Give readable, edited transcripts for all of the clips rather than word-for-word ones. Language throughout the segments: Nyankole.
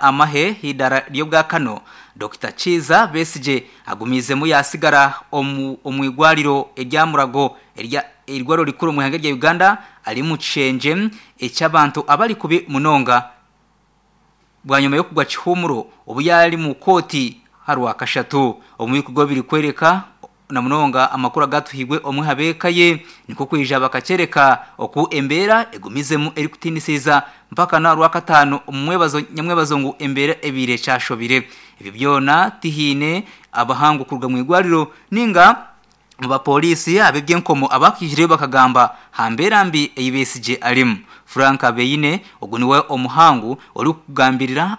Amahe h'eidaara ry'obwakano, Dokita Kiiza Besigye agumiizemu yaasigara omu irwariro erya Mulago eirwariro rikuru omu ihanga rya Uganda ari omu kishengye eky'abantu abari kubi munonga bwanyima y'okugwa kihuumuro obu yaaba ari omu kooti aha Rwakashatu. Omu bikorwa ebirikworeka na munonga amakuru agatuhairwe omwe aha b'eka ye nikwo kwija bakakyereka oku embeera egumizemu erikutiinisiza mpaka n'aha Rwakataano omu nyamwebazo ngu embeera ebaire ekyashobire. Ebyo byona tihaine abahangu kuruga omu irwariro ninga omu bapooriisi ab'eby'enkomo abakaijireyo bakagamba aha mbeera mbi ei Besigye arimu. Frank Beine ogu niwe omuhangu orikugambirira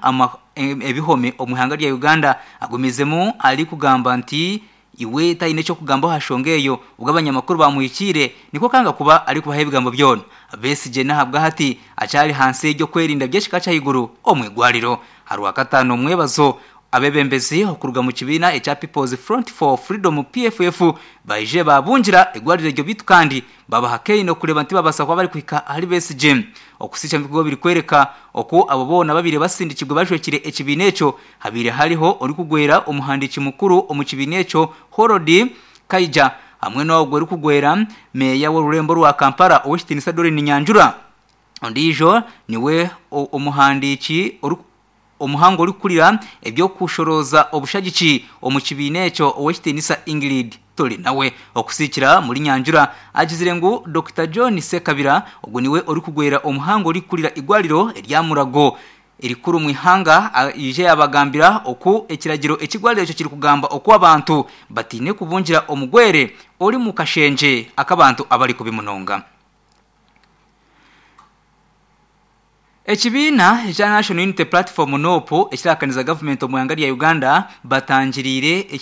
ebihome omu ihanga rya Uganda agumizemu arikugamba nti iwe taine eky'okugamba aha nshonga eyo obwo abanyamakuru bamuhikiire nikwo kanga kuba arikubaha ebigambo byona. Besigye n'ahabwahati akyari ahansi y'eby'okwerinda by'ekika ky'ahaiguru omu irwariro. Aha Rwakataano omwebazo, abeebembezi okuruga omu kibiina ekya People's Front for Freedom, PFF, baije baabungira eirwariro eryo beitu kandi babaha kaine okureeba nti babaasa kuba barikuhika ahari Besigye. Okusiisha ebikorwa birikworeka oku abo boona ababaire basindikirwe bajwekire ekibiina ekyo habaire hariho orikugwera omuhandiiki mukuru omu kibiina ekyo Harold Kaija hamwe n'ogwo orikugwera meeya w'orurembo rwa Kampala Ow'ekitiinisa Doreen Nyanjura. Ondiijo niwe omuhandiiki omuhangu orikukurira eby'okushorooza obushagiki omu kibiina ekyo Ow'ekitiinisa Ingrid Turinawe. Okusiikira omuri Nyanjura agizire ngu Dokita John Ssekabira ogu niwe orikugwera omuhangu orikukurira eirwariro erya Murago erikuru omu ihanga aije yaabagambira oku ekiragiro ek'eirwariro ekyo kirikugamba oku abantu bataine kubungira omugwere ori omu kashengye ak'abantu abarikubi munonga. Ekibiina ekya National Unity Platform, NUP, ekirahakaniza gavumenti omu ihanga rya Uganda batangiriire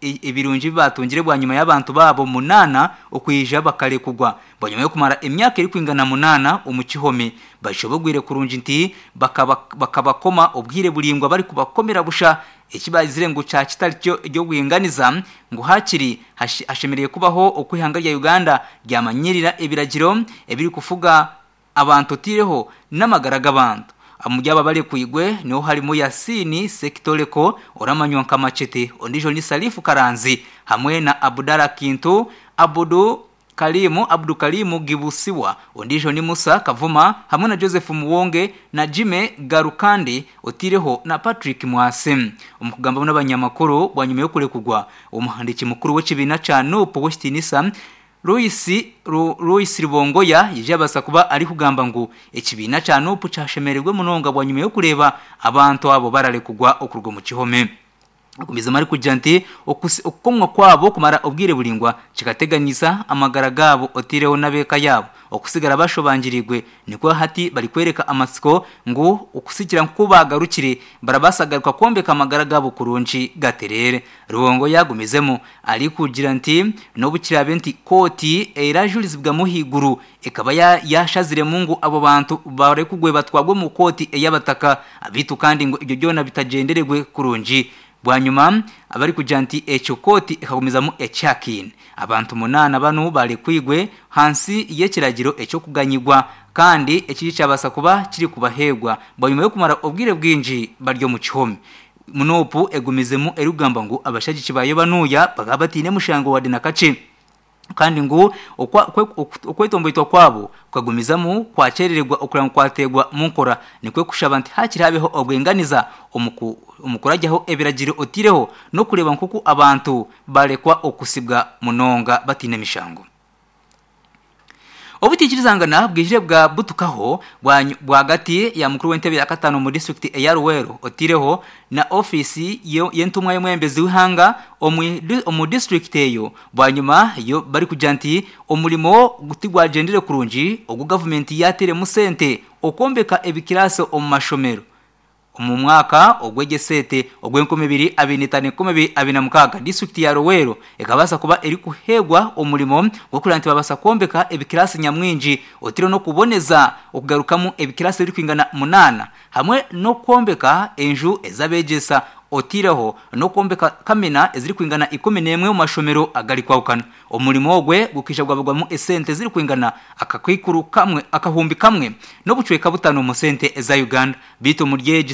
ebirungi ebi baatungire bwanyima y'abantu baabo munaana okwija bakarekurwa bwanyima y'okumara emyaka erikwingana munaana omu kihome. Bashobogoire kurungi nti bakabakoma obwire buraingwa barikubakomera busha eki baagizire ngu kya kitari ky'obwinganiza ngu haakiri hashemereire kubaho oku eihanga rya Uganda ryamanyirira ebiragiro ebirikufuga abantu otaireho n'amagara g'abantu. Omuri abo abarekwirwe niho harimu Yasin Ssekitoleko oramanywa nka Machete, ondiijo ni Salif Karanzi hamwe na Abdallah Kintu, Abudu Karim Abdu Karim Gibusiwa, ondiijo ni Musa Kavuma hamwe na Joseph Muwonge na Jimmy Garukandi otaireho na Patrick Mwase. Omu kugambamu n'abanyamakuru bwanyima y'okurekurwa, omuhandiiki mukuru w'ekibiina kya Nup Ow'ekitiinisa Louis Louis Rubongoya yaija yabaasa kuba arikugamba ngu ekibiina kya Nup kyashemererwa munonga bwanyima y'okureeba abantu abo bararekurwa okuruga omu kihome. Agumizemu arikugira nti okukomwa kwabo kumara obwire buraingwa kikateganisa amagara gaabo otaireho n'ab'eka yaabo okusigara bashobangiriirwe Nikwo hati barikworeka amatsiko ngu okuhikira nk'oku baagarukire barabaasa kugaruka kwombeka amagara gaabo kurungi gatereere. Rubongo yaagumizemu arikugira nti n'obu kiraabe nti kooti erajurizibwamu ahaiguru ekaba yaashaziremu ngu abo bantu barekugwe batwarwe omu kooti ey'abataka beitu kandi ngu ebyo byona bitagyenderegwe kurungi. Bwanyima abarikugira nti ekyo kooti ekagumizamu ekyahakaine, abantu munaana banu barekwirwe hansi y'ekiragiro eky'okuganyirwa kandi ekiri kyabaasa kuba kirikubaheebwa bwanyima y'okumara obwire bwingi bari omu kihome. Nup egumizemu erikugamba ngu abashagiki baayo banuya bakaba bataine mushango wadde na kakye. Kandi ngu okwetomboitwa kwabo kukagumizamu kwakyerererwa okureba ngu kwateerwa mu nkora, nikwo kushaba nti haakiri habeho obwinganiza omu kuragyaho ebiragiro otaireho n'okureeba nk'oku abantu barekwa okusibwa munonga bataine mishango. Obutaikirizangana bwijire bwabutukaho rwagati ya mukuru w'entebe ya kataano omu disiturikiti eya Luweero otaireho na ofiisi y'entumwa y'omwebembezi w'eihanga omu disiturikiti eyo bwanyima barikugira nti omurimo tigwagyendire kurungi ogu gavumenti yaateiremu sente okwombeka ebikiraasi omu mashomero. Omu mwaka ogw'egyesente ogw'enkumi ibiri abiri n'etaano enkumi ibiri abiri na mukaaga, disiturikiti ya Luweero ekabaasa kuba erikuheebwa omurimo gw'okureeba nti baabaasa kwombeka ebikiraasi nyamwingi otaireho n'okuboneza okugarukamu ebikiraasi ebirikwingana munaana hamwe n'okwombeka enju ez'abeegyesa otaireho n'okwombeka kamina ezirikwingana 11 omu mashomero agarikwahukana. Omurimo ogwe gukaija gwabagwamu esente zirikwingana akakaikuru kamwe akahumbi kamwe n'obucweka butano omu sente eza Uganda. Beitu omuri egi.